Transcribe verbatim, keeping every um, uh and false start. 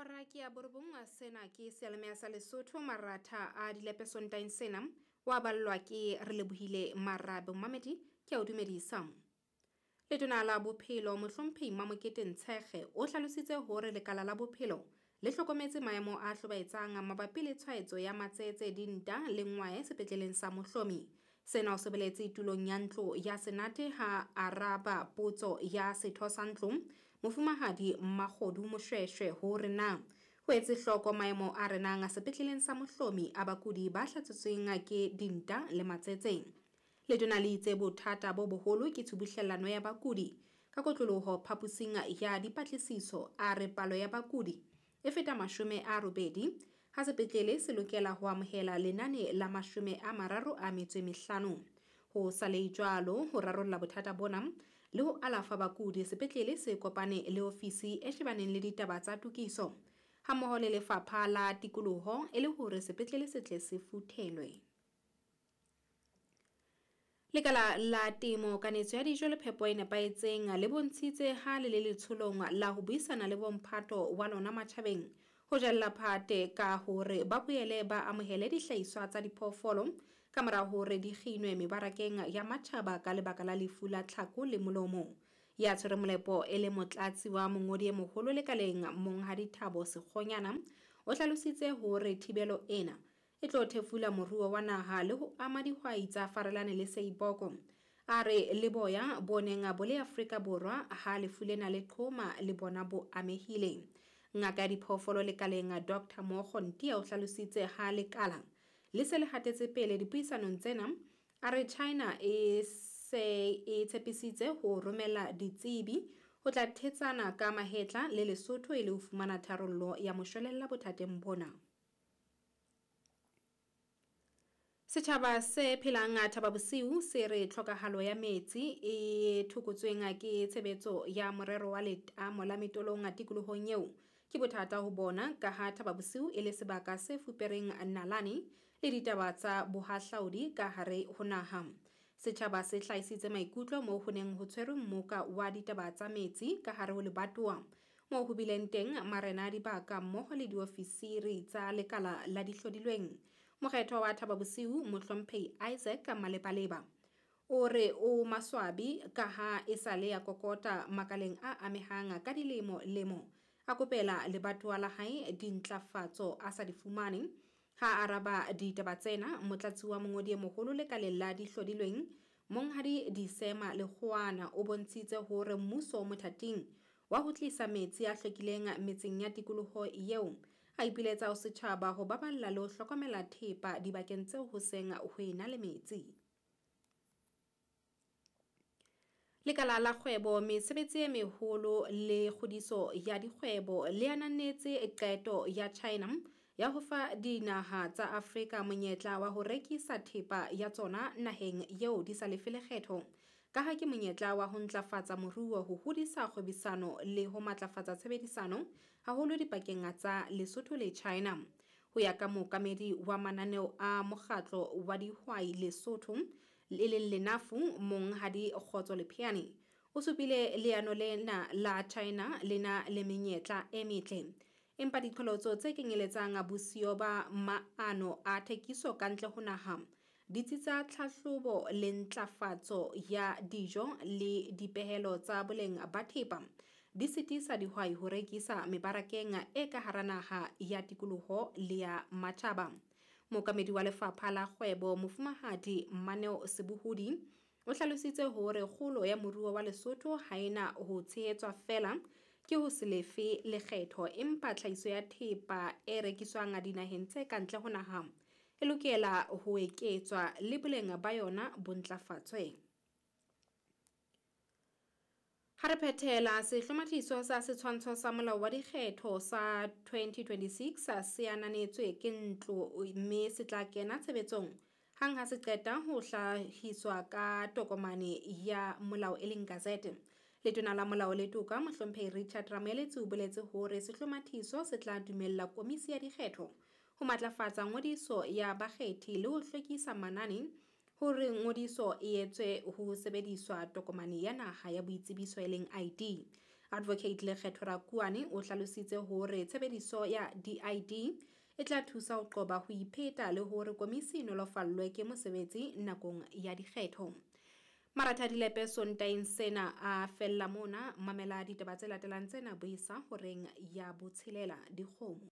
Hora ke ya borobong, sena ke seyalemoya sa Lesotho. Maratha a dilepe Sontaeng sena wa ballwa ke re lebohile Marabe. Mamedi ke a o dumedisa. Letona la Bophelo Mohlomphehi Mamokete Ntshekge o hlalositse hore lekala la bophelo le hlokometse maemo a hlobaetsang mabapi le tshwaetso ya matsetse, dinta le ngwae sepetleleng sa Mohlomi. Sena o se boletse tulong ya ntlo ya Senate ha araba potso ya setho sa ntlo Mofumahadi Mmakgodu Moshweshwe hore na ho etse hloko maemo a renang sepetleleng sa Mohlomi a bakudi ba hlatsitsweng ke dinta le matsetse. Letona le itse bothata bo boholo ke tshubuhlellano ya bakudi ka kotloloho phaposing ya dipatlisiso. A re palo ya bakudi e feta mashome a robedi ha sepetlele se lokela ho amohela lenane la mashome a mararo a metso e mehlano. Ho sa le jwalo, ho rarolla bothata bona le ho alafa bakudi, sepetlele se kopane le ofisi e shebaneng le ditaba tsa tokiso hammoho le lefapha la tikoloho e le hore sepetlele se tle se futhelwe. Lekala la temo, kanetso ya dijo le phepo e nepahetseng le bontshitse ha le le letsholong la ho buisana le bomphato wa lona matjhabeng ho jella phate ka hore ba boele ba amohele dihlahiswa tsa diphoofolo ka mora hore di kginwe mebarakeng ya matjhaba ka lebaka la lefu la tlhako le molomo. Ya tshwere molepo e le motlatsi wa mongodi e moholo lekaleng Monghadi Thabo Sekgonyana o hlalositse hore thibelo ena e tlo thefula moruo wa naha le ho ama dihwai tsa Farelane le Seiboko. A re le boya bo neng bo le Afrika Borwa ha lefu lena le qhoma le bona bo amehile. Ngaka ya diphoofolo lekaleng Doctor Mogo Ntia o hlalositse ha lekala le se le hatetse pele dipuisanong tsena. A re China e se e tshepisitse ho romela ditsebi ho tla thetsana ka mahetla le Lesotho e le ho fumana tharollo ya moshwelella bothateng bona. Setjhaba se phelang Thaba Bosiu se re tlhokahalo ya metsi e thokotsweng ke tshebetso ya morero wa letamo la Metolong tikolohong eo ke bothata ho bona ka ha Thaba Bosiu e le sebaka se fupereng nalane le ditaba tsa bohahlaudi ka hare ho naha. Setjhaba se hlahisitse maikutlo moo ho neng ho tshwerwe mmoka wa ditaba tsa metsi ka hare ho lebatowa moo ho bileng teng marena a dibaka mmoho le diofisiri tsa lekala la dihlodilweng. Mokgethwa wa Thaba Bosiu Mohlomphehi Isaac Malebaleba o re o maswabi ka ha e sale ya kokota makaleng a amehang ka dilemo lemo a kopela lebatowa la hae dintlafatso a sa di fumane. Ha araba ditaba tsena, motlatsi wa mongodi e moholo lekaleng la dihlodilweng Monghadi Disema Lekgowana o bontshitse hore mmuso o mothating wa ho tlisa metsi a hlwekileng metseng ya tikoloho eo. A ipiletsa ho setjhaba ho baballa le ho hlokomela thepa dibakeng tseo ho seng ho ena le metsi. Lekala la kgwebo, mesebetsi e meholo le kgodiso ya dikgwebo le ananetse qeto ya China ya ho fa dinaha tsa Afrika monyetla wa ho rekisa thepa ya tsona naheng eo di sa lefe lekgetho, ka ha ke monyetla wa ho ntlafatsa moruo, ho hodisa kgwebisano le ho matlafatsa tshebedisano haholo dipakeng tsa Lesotho le China. Ho ya ka mookamedi wa mananeo a mokgatlo wa dihwai Lesotho e leng Lenafu Monghadi Kgotso Lepheane o supile leano lena la China le na le menyetla e metle, empa diqholotso tse kenyeletsang bosiyo ba maano a thekiso kantle ho naha, ditsi tsa tlhahlobo le ntlafatso ya dijo le dipehelo tsa boleng ba thepa di sitisa dihwai ho rekisa mebarakeng e ka hara naha ya tikoloho le ya matjhaba. Mookamedi wa lefapha la kgwebo Mofumahadi Mmaneo Sebohodi o hlalositse hore kgolo ya moruo wa Lesotho ha ena ho tshehetswa feela ke ho se lefe lekgetho, empa tlhahiso ya thepa e rekiswang dinaheng tse kantle ho naha e lokela ho eketswa le boleng ba yona bo ntlafatswe. Ha re phethela, sehlomathiso sa setshwantsho sa molao wa dikgetho sa twenty twenty-six se ananetswe ke ntlo mme se tla kena tshebetsong hang ha se qeta ho hlahiswa ka tokomane ya molao e leng gazette. Letona la Molao le Toka Mohlomphehi Richard Ramoeletsi o boletse hore sehlomathiso se tla dumella komisi ya dikgetho ho matlafatsa ngodiso ya bakgethi le ho hlwekisa manane hore ngodiso e etswe ho sebediswa tokomane ya naha ya boitsebiso e leng I D. Advocate Lekgetho Rakuane o hlalositse hore tshebediso ya di-I D e tla thusa ho qoba ho ipheta le hore komisi e nolofallwe ke mosebetsi nakong ya dikgetho. Maratha Dilepe Sontaeng sena a fella mona. Mamela ditaba tse latelang tsena buisa horeng ya botshelela dikgomo.